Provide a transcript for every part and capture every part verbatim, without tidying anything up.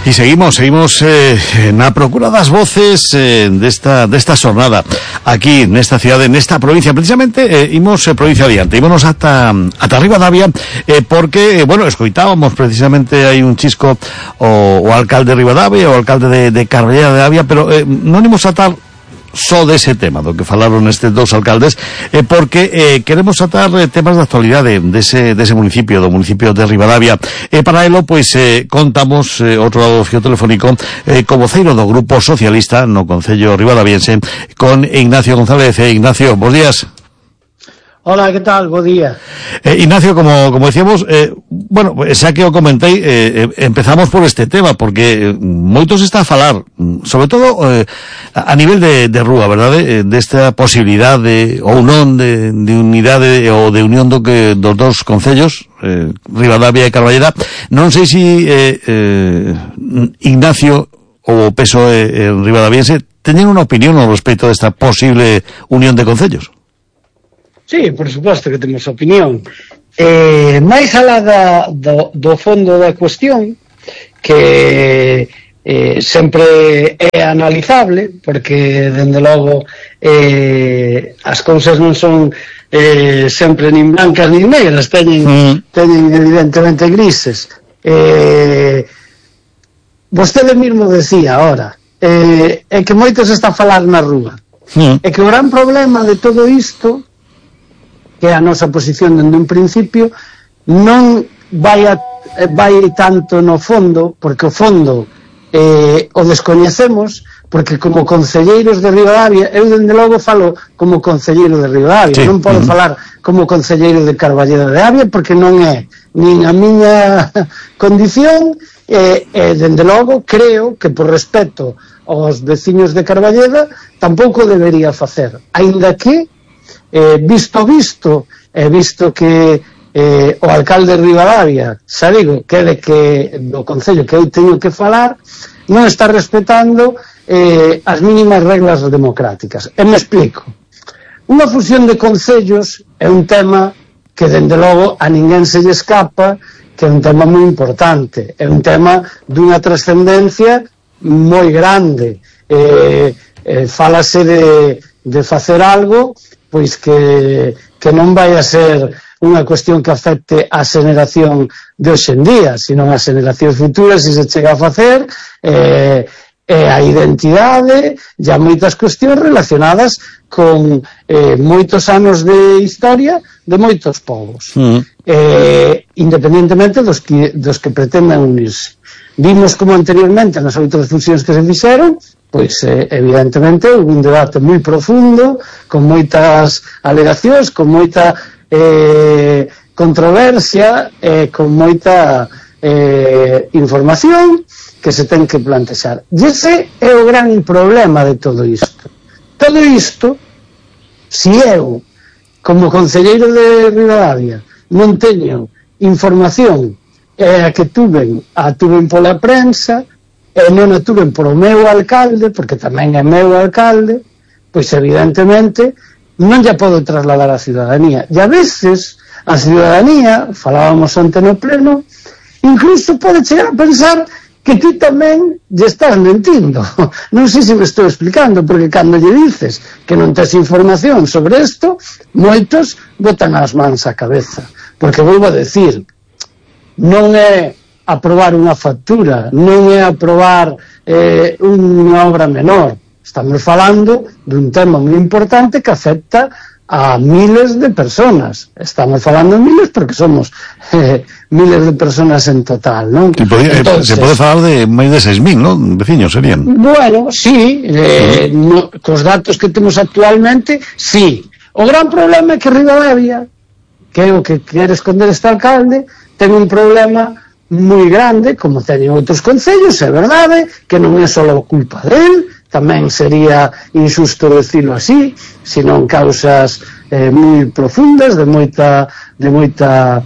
E seguimos, seguimos eh, na procura das voces eh, desta, desta xornada aquí nesta cidade, nesta provincia. Precisamente eh, imos eh, provincia adiante, ímonos ata, ata Ribadavia eh, porque, eh, bueno, escoitábamos precisamente hai un chisco o, o alcalde de Ribadavia, o alcalde de, de Carballeda de Avia, pero eh, non imos atar só dese tema do que falaron estes dous alcaldes, eh, porque eh, queremos tratar eh, temas de actualidade dese, dese municipio, do municipio de Ribadavia. E eh, para elo, pois, eh, contamos eh, outro lado do fio telefónico eh, co voceiro do Grupo Socialista no Concello Ribadaviense, con Ignacio González. Eh, Ignacio, bos días. Hola, ¿qué tal? Bo día. Eh, Ignacio, como, como decíamos, eh, bueno, xa que o comentei, eh, eh, empezamos por este tema, porque eh, moitos está a falar, sobre todo eh, a nivel de, de rúa, verdade? Eh, desta posibilidade, ou non, de, de unidade ou de unión do que, dos dos concellos, eh, Ribadavia e Carballeda. Non sei se eh, eh, Ignacio ou o P S O E en Ribadaviense teñen unha opinión ao respecto desta posible unión de concellos. Sí, por suposto que temos opinión. Eh, máis alá da, do, do fondo da cuestión, que eh, sempre é analizable, porque, dende logo, eh, as cousas non son eh, sempre nin blancas nin negras, teñen, mm. teñen evidentemente grises. Eh, vostede mesmo decía ahora, eh, é que moitos está a falar na rúa. Mm. É que o gran problema de todo isto, que a nosa posición dende un principio, non vai, a, vai tanto no fondo, porque o fondo eh, o descoñecemos, porque como concelleiros de Ribadavia, eu dende logo falo como concelleiro de Ribadavia, sí. Non podo uh-huh. falar como concelleiro de Carballeda de Avia, porque non é nin a miña condición, e, e dende logo creo que por respeto aos veciños de Carballeda tampouco debería facer, aínda que Eh, visto visto, e eh, visto que eh, o alcalde de Ribadavia, xa digo, que de que do concello que eu teño que falar, non está respetando eh, as mínimas reglas democráticas. E me explico. Unha fusión de concellos é un tema que, dende logo, a ninguén se lle escapa, que é un tema moi importante, é un tema dunha trascendencia moi grande. Eh, eh, falase de, de facer algo pois que, que non vai a ser unha cuestión que afecte a xeneración de hoxe en día, sino a xeneracións futuras, se se chega a facer, eh, e a identidade, e a moitas cuestións relacionadas con eh, moitos anos de historia de moitos povos, mm. eh, independentemente dos que, dos que pretendan unirse. Vimos como anteriormente nas outras fusións que se fixeron, pois eh, evidentemente houve un debate moi profundo, con moitas alegacións, con moita eh, controversia, e eh, con moita eh, información que se ten que plantexar. E ese é o gran problema de todo isto. Todo isto, se eu, como concelleiro de Ribadavia, non teño información, e a que tuven, a tuven pola prensa, e non a tuven por o meu alcalde, porque tamén é meu alcalde, pois evidentemente non lla podo trasladar á ciudadanía. E a veces a ciudadanía, falábamos onte no pleno, incluso pode chegar a pensar que ti tamén lle estás mentindo. Non sei se me estou explicando, porque cando lle dices que non tes información sobre isto, moitos botan as mans á cabeza. Porque volvo a decir, non é aprobar unha factura, non é aprobar eh, unha obra menor. Estamos falando dun tema moi importante que afecta a miles de personas. Estamos falando de miles porque somos eh, miles de personas en total, non? Podía, Entonces, se pode falar de máis de seis mil, non? Veciños serían. Bueno, sí, eh, no, cos datos que temos actualmente, sí. O gran problema é que Ribadavia, que é o que quere esconder este alcalde, ten un problema moi grande, como teñen outros concellos, é verdade, que non é só culpa del, tamén sería injusto decirlo así, senón causas eh, moi profundas, de moita de moita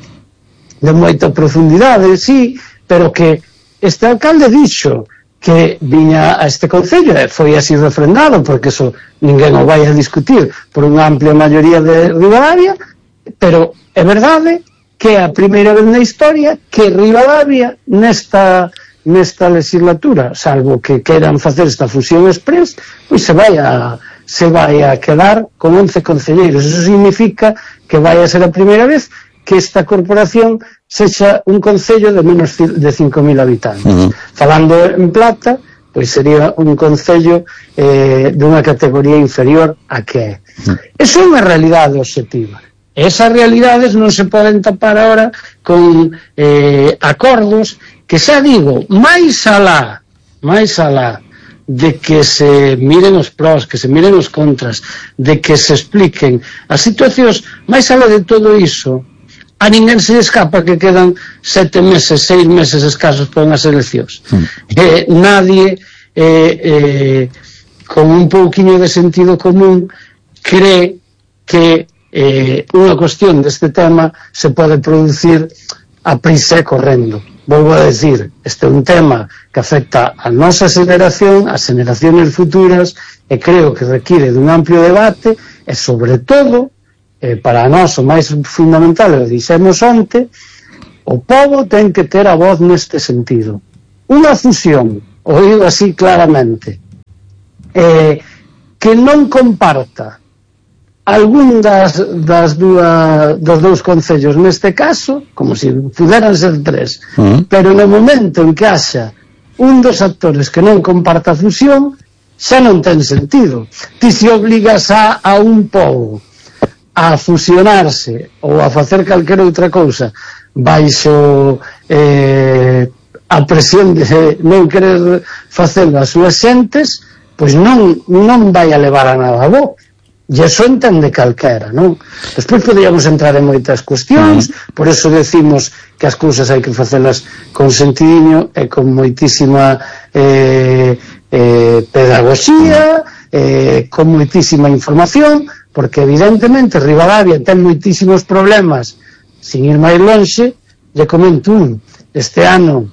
de moita profundidade, sí, pero que este alcalde dixo que viña a este concello, e foi así refrendado, porque eso ninguén o vai a discutir por unha amplia maioría de Ribadavia, pero é verdade que é a primeira vez na historia que Ribadavia nesta nesta legislatura, salvo que queran facer esta fusión express, pois se vai a se vai a quedar con once concelleiros. Eso significa que vai a ser a primeira vez que esta corporación sexa un concello de menos de cinco mil habitantes. Uh-huh. Falando en plata, pois sería un concello eh, dunha categoría inferior a que é. Uh-huh. Eso é unha realidade obxectiva. Esas realidades non se poden tapar ahora con eh, acordos que, xa digo, máis alá, máis alá de que se miren os pros, que se miren os contras, de que se expliquen as situacións, máis alá de todo iso, a ninguén se escapa que quedan sete meses, seis meses escasos para unhas eleccións. Mm. Eh, nadie eh, eh, con un pouquiño de sentido común cree que eh, unha cuestión deste tema se pode producir a prisa e correndo. Volvo a decir, este é un tema que afecta a nosa xeración, as xeracións futuras, e creo que require dun amplio debate, e sobre todo, eh, para nós o máis fundamental, o dixemos onte, o povo ten que ter a voz neste sentido. Unha fusión, o digo así claramente, eh, que non comparta algún das, das dúa, dos dous concellos neste caso, como se puderan ser tres, uh-huh. pero no momento en que haxa un dos actores que non comparta a fusión, xa non ten sentido. Ti se obligas a, a un pobo a fusionarse ou a facer calquera outra cousa baixo eh, a presión de non querer facelo as súas xentes, pois non, non vai a levar a nada bo. E iso entende calquera, non? Despois podríamos entrar en moitas cuestións, por eso decimos que as cousas hai que facelas con sentidiño e con moitísima eh, eh, pedagogía, eh, con moitísima información, porque evidentemente Ribadavia ten moitísimos problemas, sin ir máis lonxe, lle comento un, este ano,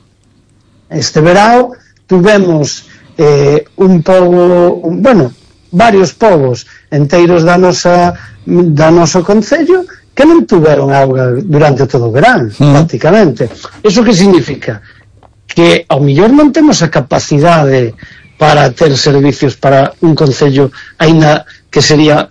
este verao, tuvemos eh, un pobo, un, bueno, varios povos enteiros da nosa da noso concello que non tuveron auga durante todo o verán, mm. prácticamente. Eso que significa? Que ao mellor non temos a capacidade para ter servicios para un concello aínda que sería